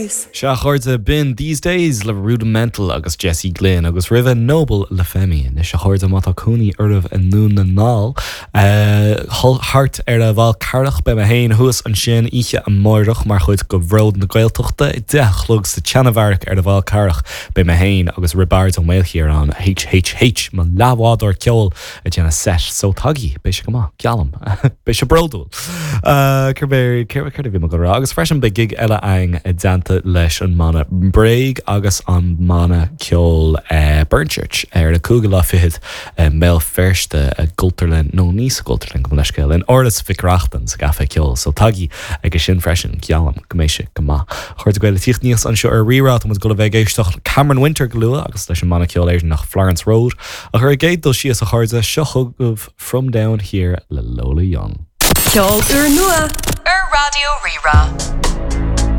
Days. Sea, a chairde, b'in These Days le Rudimental agus Jesse Glynne agus roimhe Noble le Femi. Anois, a chairde, má tá cónaí oraibh i nDún na nGall, thart ar an bhFál Carrach, beidh mé féin thuas ansin oíche amárach mar chuid de Bhród na Gaeltachta, 10 a chlog sa tSeanabheairic ar an bhFál Carrach. Beidh mé féin agus Roibeárd Ó Maoilchiaráin, HHH, mo leathbhádóir ceoil, ag déanamh set so tagaigí, beidh sé go maith, geallaim. Beidh sé bródúil. Céard céard a bhí mé ag dul a rá? Agus freisin beidh gig eile againn i dteannta leis an mbanna Bréag agus an mbanna ceoil Burnchurch ar an cúigiú lá fichead i mBéal Feirste i gCultúrlann, nó ní sa gCultúrlann, gabh mo leithscéal, in Áras Mhic Reachtain sa gCaifé Ceoil. So tagaigí aige sin freisin, geallaim go mbeidh sé go maith. A chairde Gael ag tíocht aníos anseo ar Rí-Rá, tá muid ag dul a bheith ag éisteacht le Cameron Winter go luath agus leis an mbanna ceoil Éireannach Florence Road. Ach ar an gcéad dul síos, a chairde, seo chugaibh From Down Here le Lola Young. Ceol úrnua ar Raidió Rí-Rá.